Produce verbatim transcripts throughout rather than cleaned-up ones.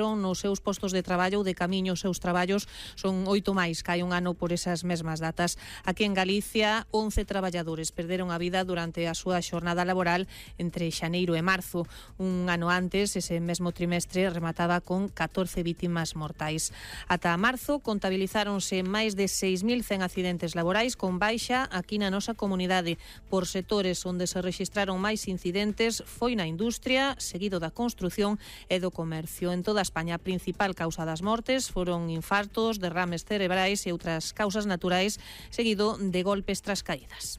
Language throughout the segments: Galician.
nos seus postos de traballo ou de camiño aos seus traballos. Son oito máis que hai un ano por esas mesmas datas. Aquí en Galicia, once traballadores perderon a vida durante a súa xornada laboral entre xaneiro e marzo. Un ano antes, ese mesmo trimestre remataba con catorce vítimas mortais. Ata marzo contabilizáronse máis de seis mil cen accidentes laborais con baixa aquí na nosa comunidade. Por sectores onde se rexistraron máis incidentes foi na industria, seguido da construción e do comercio. En toda España, a principal causa das mortes foron infartos, derrames cerebrais e outras causas naturais, seguido de golpes tras caídas.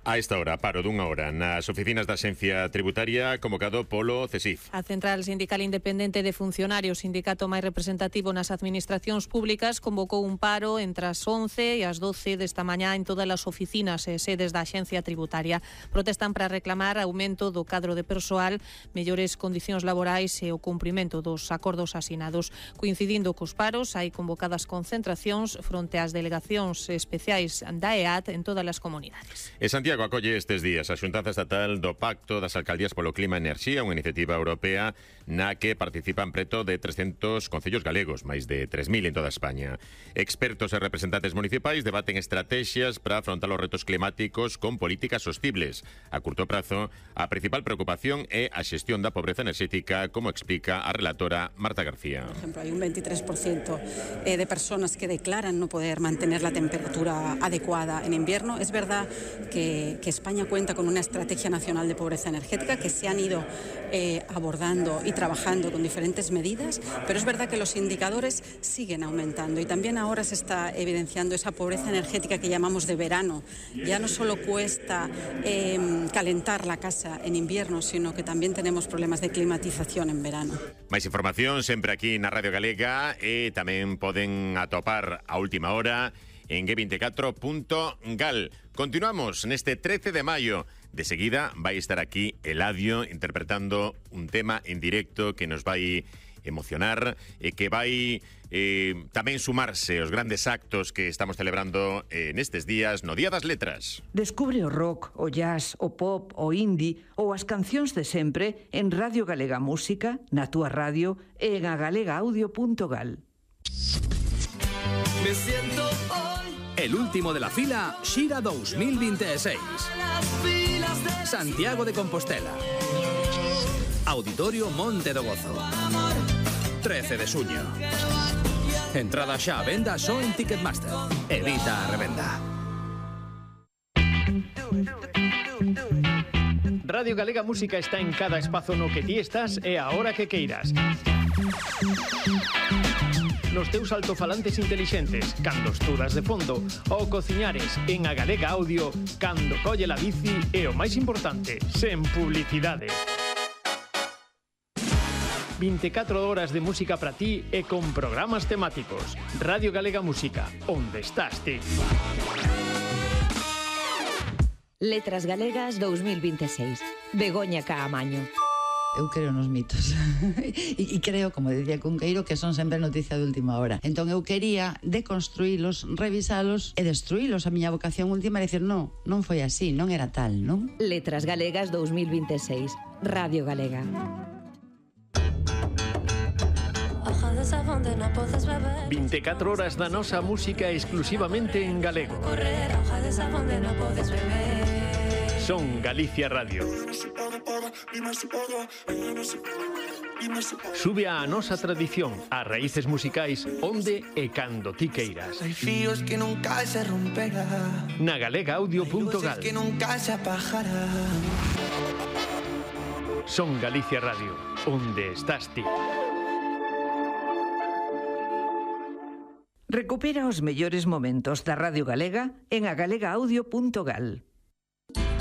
A esta hora, paro dunha hora nas oficinas da Axencia Tributaria, convocado polo CESIF. A Central Sindical Independente de Funcionarios, sindicato máis representativo nas administracións públicas, convocou un paro entre as once e as doce desta mañá en todas as oficinas e sedes da Axencia Tributaria. Protestan para reclamar aumento do cadro de persoal, mellores condicións laborais e o cumprimento dos acordos asinados. Coincidindo cos paros, hai convocadas concentracións fronte ás delegacións especiais da E A T en todas as comunidades. E Santiago acolle estes días a xuntanza estatal do Pacto das Alcaldías polo Clima e Enerxía, unha iniciativa europea na que participan preto de trescentos concellos galegos, máis de tres mil en toda España. Expertos e representantes municipais debaten estrategias para afrontar os retos climáticos con políticas sostibles. A curto prazo, a principal preocupación é a xestión da pobreza enerxética, como explica a relatora Marta García. Por ejemplo, hay un veintitrés por ciento de personas que declaran no poder mantener la temperatura adecuada en invierno. Es verdad que que España cuenta con una estrategia nacional de pobreza energética que se han ido eh, abordando y trabajando con diferentes medidas, pero es verdad que los indicadores siguen aumentando y también ahora se está evidenciando esa pobreza energética que llamamos de verano. Ya no solo cuesta eh, calentar la casa en invierno, sino que también tenemos problemas de climatización en verano. Máis información sempre aquí na Radio Galega e tamén poden atopar a última hora en G veinticuatro punto gal. Continuamos neste trece de maio. De seguida vai estar aquí Eladio interpretando un tema en directo que nos vai emocionar e que vai eh, tamén sumarse aos grandes actos que estamos celebrando eh, nestes días no Día das Letras. Descubre o rock, o jazz, o pop, o indie ou as cancións de sempre en Radio Galega Música, na túa radio e en agalega audio punto gal. Me siento hoy el último de la fila Xira dos mil veintiséis. Santiago de Compostela. Auditorio Monte do Gozo. trece de xuño. Entrada xa a venda só en Ticketmaster. Evita a revenda. Radio Galega Música está en cada espazo no que ti estás e a hora que queiras. Nos teus altofalantes intelixentes, cando estudas de fondo, ou cociñares en a Galega Audio, cando colle la bici e o máis importante, sen publicidade. veinticuatro horas de música para ti e con programas temáticos. Radio Galega Música, onde estás ti? Letras Galegas dos mil veintiséis. Begoña Caamaño. Eu creo nos mitos e, e creo, como decía Cunqueiro, que son sempre noticia de última hora. Entón eu quería deconstruílos, revisalos e destruílos. A miña vocación última é dicir, non, non foi así, non era tal, non? Letras Galegas dos mil veintiséis. Radio Galega. veinticuatro horas da nosa música exclusivamente en galego. Son Galicia Radio. Sube a nosa tradición, a raíces musicais, onde e cando ti queiras. Hai fíos que nunca se romperán. Na galega audio punto gal. Que nunca se apagarán. Son Galicia Radio, onde estás ti? Recupera os mellores momentos da Radio Galega en agalega audio punto gal.